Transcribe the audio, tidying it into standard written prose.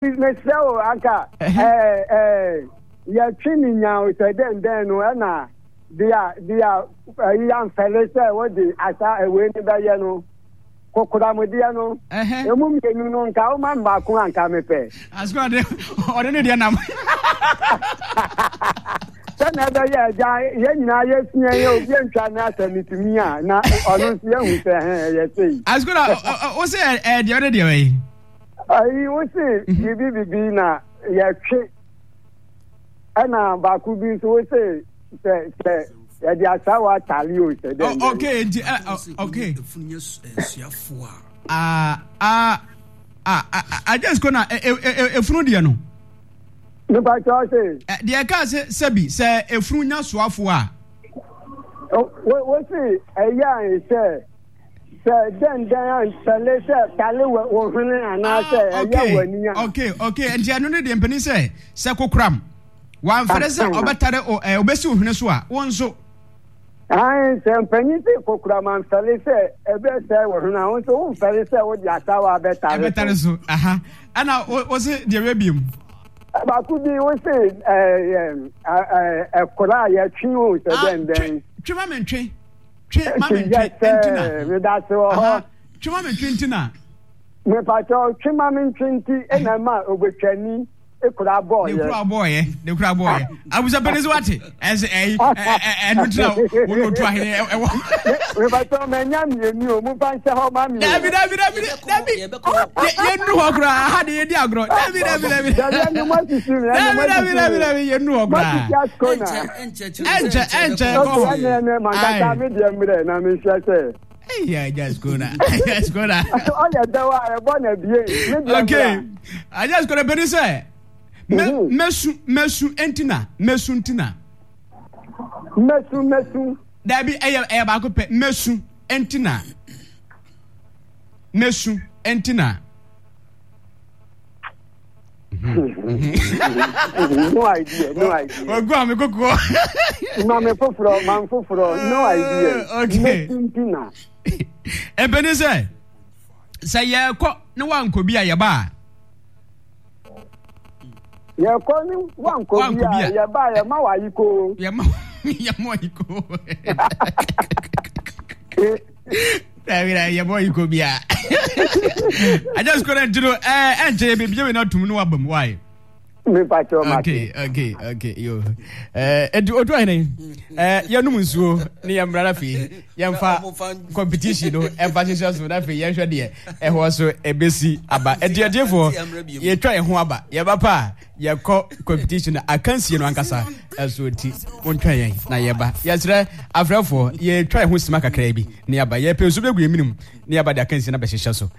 Mesrɛ wo anka ɛɛ ɛɛ yɛtwe ne nyan o sɛ dɛn dɛn no ɛna deɛ deɛ ɛyi amfɛle sɛ wode asa ɛwei no bɛyɛ no kokoramudeɛ no emu mmienu no nka woma me baako anka mepɛ. Asukɔ ɔde ɔde ne deɛ nam. Sɛnea ɛbɛyɛ agya yɛn nyinaa yɛsua yɛ obi antwa ne asɛ metumi a na ɔno nso yɛhu sɛ ɛhɛn ɛyɛ sei. Asukɔ na wo sɛ ɛɛ deɛ ɔde deɛ bɛyɛ. Ayi wo se biribi bibi na yɛtwe ɛna baako bi nso wo se sɛ sɛ yɛde asawa atale o sɛ dɛn dɛn. Okay nti ɛ okay. Ah ah ah agye siko na efunu deɛ no. Nipa kyɛw se. Deɛ ɛka sɛ sɛbi sɛ efunu nya soafo a. Wo se ɛyɛ a sɛ. Sɛ dɛn dɛn a ntale sɛ tale wɔ wo hwene anaasɛ ah, ɛyɛ w'ani a. Okay, okay. Nti ɛno ne deɛ mpanin sɛ sɛ kokoram wamfɛre sɛ ɔbɛtare o ɛ ɔbɛsi wo hwene so a wo nso. Ayi sɛ mpanyin sɛ kokoram amfɛre sɛ ɛbɛsɛ wɔ hwene a wo nso wo mfɛre sɛ wode asawa abɛtare so. Ɛbɛtare so aha ɛna wo se deɛ wɛ biem. Baako bi wo se ɛɛ ɛɛ ɛkora a yɛtwe o sɛ dɛn dɛn. Twe ma mentwe. Twe ma me ntwe nti na. Medase wɔ hɔ. Twe ma me ntwe nti na. Mepakyɛw twe ma me ntwe nti na ɛma obetwani ekura bɔɔyɛ. Ne kura bɔɔyɛ ne kura bɔɔyɛ. Abusa pɛni so wate ɛsɛ ɛyi ɛnu ti na wɔn otu ahene ɛwɔ. Mepakyɛw mɛ nya mienu o mo fa nhyɛ hɔ ma mi o. Dabi dabi dabi dabi yɛ nu hɔ koraa aha de yɛ di agorɔ dabi dabi dabi. Dabi ɛni mo asisi mi ɛni mo asisi mi. Dabi dabi dabi yɛ nu hɔ koraa. Mo asisi asikona. Ɛnkyɛ ɛnkyɛ ɛkɔ hɔ. Ɛnɛ ɛnɛ mankasa mi deɛ mmerɛ na mi nhyɛ sɛ. Eyi agya skona agya skona. Ɔyɛ dɛw a ɛbɔ na bie mi deɛ mmerɛ. Okay agya skona bɛni sɛ mɛ mɛsu mɛsu ɛntina mɛsu ntina. Mɛsu mɛsu. Dabi ɛyɛ ɛyɛ baako pɛ mɛsu ɛntina mɛsu ɛntina. No idea, no idea. Ogu ame koko. Mame foforɔ, mam foforɔ, no idea. Okay. Mɛtintina. Ebeni sɛ, sɛ yɛkɔ ne wankɔ bi a yɛba a. Yɛkɔ ne wankɔ bi a yɛba a yɛma wayiko. Yɛma yɛma wayiko. Dabi na yɛbɔ yi ko bia. Agya sukuu na nti no ɛɛ ɛnkyɛ yɛ beebi yɛ na tum no waba mu wae. Mepa kyɛw ma Okay okay okay yo ɛɛ eti otu ahene ɛɛ yɛnum nsuo ne yɛn mmara afei yɛnfa competition no ɛnfa hyehyɛ so na afei yɛnhwɛ deɛ ɛhɔ so ebesi aba ɛdi ɛdiefoɔ yɛtwa yɛn ho aba yɛba pa a. Yɛkɔ competition no akansie no ankasa ɛso nti montwɛn yɛn na yɛba. Yɛsrɛ afrɛfoɔ yɛtwa yɛn ho sima kakraa bi na yɛaba. Yɛpɛ nsu bɛgu yɛn menem na yɛaba de akansie no abɛhyehyɛ so.